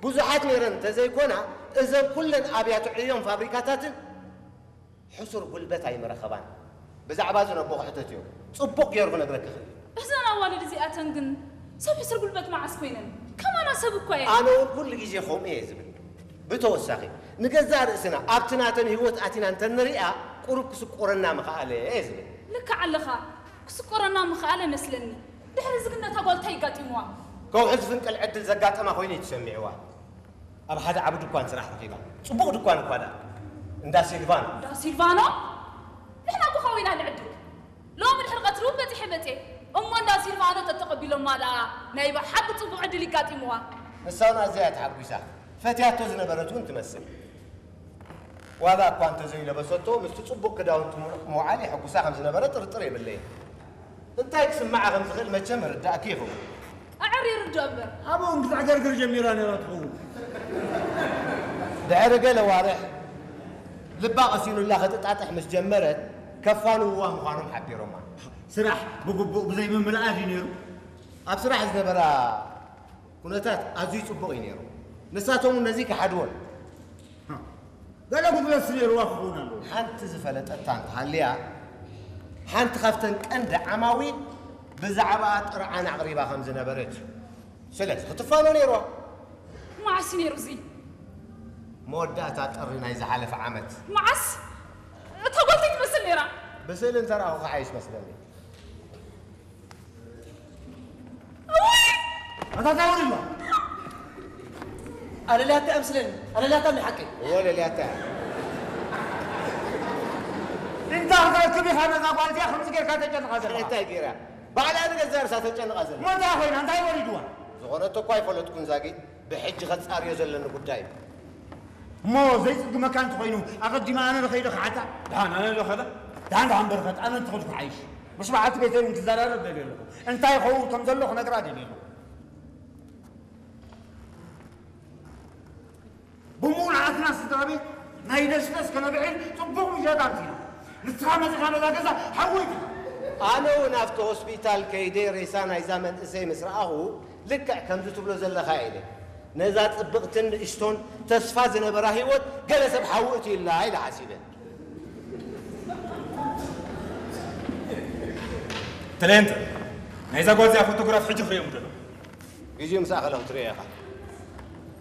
ብዙሓት ነይረን እንተዘይኮና፣ እዘን ኩለን ኣብያተ ዕዮን ፋብሪካታትን ሕሱር ጉልበት ኣይምረኸባን። ብዛዕባ እዚ ነቦ ክሕተት እዮ። ጽቡቕ ገይሩ ክነግረኪ ክእል። እዘን ኣዋልድ እዚኣተን ግን ሰብ ሕሱር ጉልበት መዓስ ኮይነን? ከማና ሰብ እኳ እየን። ኣነ እውን ኩሉ ግዜ ከምኡ እየ ዝብል። ብተወሳኺ፣ ንገዛእ ርእስና ኣብቲ ናተን ህይወት ኣቲና እንተንሪኣ፣ ቁሩብ ክስቆረና ምኸኣለ እየ ዝብል። ልክዕ ኣለኻ። ክስቆረና ምኸኣለ መስለኒ። ድሕሪ እዚ ግን ነታ ጓል እንታይ ኣጋጢምዋ? ከውሒ ዝፍንቅል ዕድል ዘጋጠማ ኮይኑ እዩ ተሰሚዕዋ። ኣብ ሓደ ዓቢ ድኳን ስራሕ ረኺባ። ጽቡቕ ድኳን እኳ ደኣ። እንዳ ሲልቫኖ። እንዳ ሲልቫኖ? ንሕና እኮ ከዊና ንዕድግ። ሎሚ ድሕሪ ቀትሪ እውን በጺሐ መጽየ። እሞ እንዳ ሲልቫኖ ተተቐቢሎማ ደኣ ናይ ብሓቂ ጽቡቕ ዕድል ይጋጢምዋ። ንሳ እውን ኣዝያ እያ ተሓጒሳ። ፈትያቶ ዝነበረት እውን ትመስል። ዋላ እኳ እንተዘይለበሰቶ፣ ምስቲ ጽቡቕ ክዳውንቲ ምውዓል የሐጉሳ ከም ዝነበረ ጥርጥር የብለይን። እንታይ ክስምዓ ከም ዝኽእል መቸም ርዳእኪ ይኸውን። ኣዐር ይርድኦ እምበር። ኣብኡ እንክትዕገርግር ጀሚራ ነይራ ትኸውን። ድሕሪ ገለ ኣዋርሕ ልባ ቀሲኑላ ክትጣጥሕ ምስ ጀመረት፣ ከፋንውዋ ምዃኖም ሓቢሮማ። ስራሕ ብግቡእ ብዘይምምልኣ ድዩ ነይሩ? ኣብ ስራሕ ዝነበራ ኩነታት ኣዝዩ ጽቡቕ እዩ ነይሩ። ንሳቶም እውን ነዚ ከሓድዎን። ገለ ጉድለት ነይርዋ ክኸውን ኣለዎ። ሓንቲ ዝፈለጠታ እንተሃልያ፣ ሓንቲ ካብተን ቀንዲ ዓማዊል ብዛዕባኣ ጥርዓን ኣቕሪባ ከም ዝነበረት እዩ። ስለዚ ክትፋኖ ነይርዋ። መዓስ እዩ ነይሩ እዚ? መወዳእታ ጥሪ ናይ ዝሓለፈ ዓመት። መዓስ? እታ ጓል እንታይ ትመስል ነይራ? ብስእሊ እንተረኣኹ ክሓይሽ መስለኒ። እውይ! ኣታ እንታይ ወሪድዋ? ኣለልያታ እያ ምስለኒ። ኣለልያታ እንዲ ሓቀይ። እወ ለልያታ እያ። እንታ ክትረክብ ኢኻ ነዛ ጓል እዚኣ ከምዚ ጌርካ ተጨንቓ ዘለኻ? እንታይ ገይራ? ባዕላ ንገዛእ ርእሳ ተጨንቓ ዘላ። እሞ እንታይ ኮይና? እንታይ ወሪድዋ? ዝኾነቶ እኳ ኣይፈለጥኩን ዛጊት። ብሕጂ ከጻርዮ ዘለኒ ጉዳይ እዩ። እሞ ዘይጽግመካ እንተኾይኑ ኣቐዲመ ኣነ ዶ ከይደ ክሓታ? ደሓን ኣነ ዶ ከደ? ደሓን ደሓን በረኸት ኣነ እንተኸድኩ ሓይሽ። ምስ በዓልቲ ቤተይ እውን ክዘራረብ ደልየ ኣለኹ። እንታይ ይኸውን ከም ዘሎ ክነግራ ደልየ ኣለኹ። ብምውልዓትና ስድራ ቤት ናይ ደስደስ ከነብዕል ጽቡቕ ምሸት ኣምሲና። ንስኻ መጺኻ ነዛ ገዛ ሓወይት ኢኻ። ኣነ እውን ኣብቲ ሆስፒታል ከይደ ሬሳ ናይዛ መንእሰይ ምስ ረኣኹ ልክዕ ከምዚ ትብሎ ዘለኻ ኢለ ነዛ ጽብቕትን ንእሽቶን ተስፋ ዝነበራ ህይወት ገለ ሰብ ሓዊ እትዩላ ኢለ ሓሲበ። ትሌንተ ናይዛ ጓል እዚኣ ፎቶግራፍ ሕጂ ክርእዮም ደሎ። ግዜኡ ምስ ኣኸለ ክትርእዮ ኢኻ።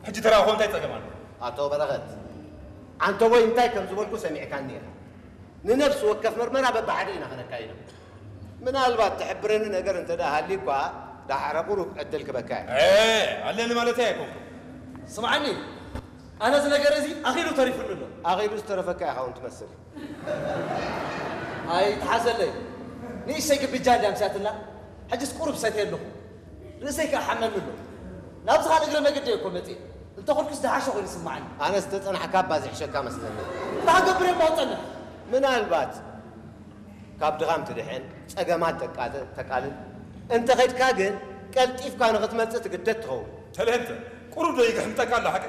ሕጂ ተረኣኹ እንታይ ጸገም ኣሎ? ኣቶ በረኸት ዓንተቦይ እንታይ ከም ዝበልኩ ሰሚዕካኒ ኢኻ። ንነፍሲ ወከፍ መርመራ በብሓደ ኢና ከነካይዶ። ምናልባት ትሕብረኒ ነገር እንተ ደኣ ሃልዩ እኳ ደሓረ ቁሩብ ዕድል ክበካ እየ። እ ኣለኒ ማለተይ ኣይኮንኩን። ስምዓኒ፣ ኣነ እዚ ነገር እዚ ኣኺሉ ተሪፉኒ ኣሎ። ኣኺሉ ዝተረፈካ ኢኻ እውን ትመስል። ኣይትሓዘለይ። ንእሽተይ ግብጃ እንድያ ኣምስያትላ። ሕጅስ ቁሩብ ሰትየ ኣለኹ። ርእሰይ ከኣ ሓመኒ ኣሎ። ናብዚ ካልእ እግረ መገዲ እየ እኮ መጺእ። እንተ ኸድኩስ ዝሓሸ ኮይኑ ይስምዓኒ። ኣነ ዝተጸናሕካ እባ ዝሕሸካ መስለኒ። እንታይ ክገብር እየ እሞ ክጸንሕ? ምናልባት ካብ ድኻም ትድሕን፣ ጸገማት ተቃልል፣ እንተ ኸድካ ግን ቀልጢፍካ ንኽትመጽእ ትግደድ ትኸውን። ተልህንተ፣ ቁሩብ ዶ ይግሕምጠካ ኣሎ ሓቂ?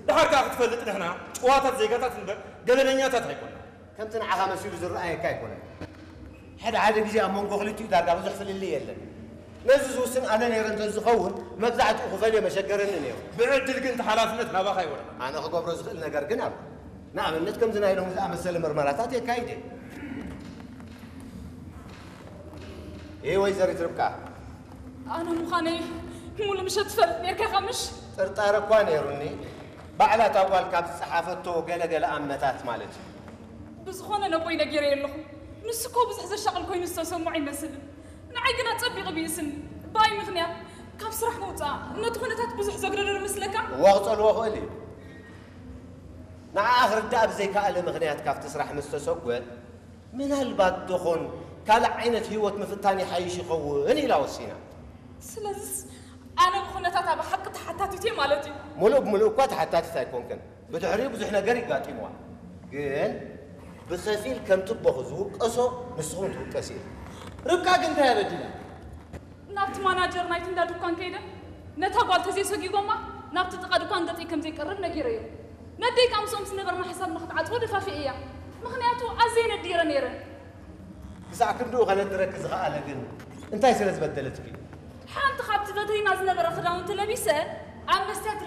ደሓር ከኣ ክትፈልጥ ንሕና ጭዋታት ዜጋታት እምበር ገበነኛታት ኣይኮናን። ከምቲ ንዓኻ መሲሉ ዝረኣየካ ኣይኮነን። ሓደ ሓደ ግዜ ኣብ መንጎ ክልቲኡ ዳርጋ ብዙሕ ፍልልይ የለን። ነዚ ዝውስን ኣነ ነይረ እንተዝኸውን መብዛሕትኡ ክፈልዮ መሸገረኒ ነይሩ። ብዕድል ግን እቲ ሓላፍነት ናባኻ ይወድቕ። ኣነ ክገብሮ ዝኽእል ነገር ግን ኣሎ። ንኣብነት ከምዚ ናይ ሎሚ ዝኣመሰለ ምርመራታት የካይድ እየ። እይ ወይዘሪት ርብቃ። ኣነ ምዃነይ ሙሉ ምሸት ትፈልጥ ነይርካ ኢኻ ምሽ? ጥርጣረ እኳ ነይሩኒ። ባዕላ እታ ጓል ካብ ዝጸሓፈቶ ገለ ገለ ኣመታት ማለት እዩ። ብዝኾነ ነቦይ ነጊረዮ ኣለኹ። ንሱ እኮ ብዙሕ ዘሻቕል ኮይኑ ዝተሰምዖ ኣይመስልን። ንዓይ ግን ኣጸቢቑ ይብእስኒ። ብኣይ ምኽንያት ካብ ስራሕ ምውጻእ ነቲ ኩነታት ብዙሕ ዘግደዶ ዶ ይመስለካ? እዋ ክጸልዎ ክእል እዩ። ንዓኣ ክርዳእ ብዘይከኣለ ምኽንያት ካብቲ ስራሕ ምስ ተሰጎ ምናልባት ዶኾን ካልእ ዓይነት ህይወት ምፍታን ይሓይሽ ይኸውን ኢላ ወሲና። ስለዝስ ኣነ ብኹነታታ ብሓቂ ተሓታቲት እየ ማለት እዩ? ምሉእ ብምሉእ እኳ ተሓታቲት ኣይኮንክን። ብድሕሪኡ ብዙሕ ነገር እዩ ኣጋጢምዋ። ግን ብኸፊል ከም ትቦኹ ዝውቀሶ ንስኺ እውን ትውቀሲ ኢኺ። ርብቃ ግን እንታይ እያ በዲላ? ናብቲ ማናጀር ናይቲ እንዳ ድኳን ከይደ ነታ ጓል ተዘይሰጒጎማ ናብቲ ጥቓ ድኳን ገጸይ ከም ዘይቀርብ ነጊረዮ። ነደይ ከኣ ምስኦም ዝነበርና ሕሳብ ንኽትዓጽዎ ደፋፊኤያ። ምኽንያቱ ኣዝየ ነዲረ ነይረ። ክሳዕ ክንድኡ ከነድረኪ ዝኸኣለ ግን እንታይ ስለ ዝበደለትኪ እዩ? ሓንቲ ካብቲ ቨትሪና ዝነበረ ክዳውንቲ ለቢሰ ኣብ መስትያት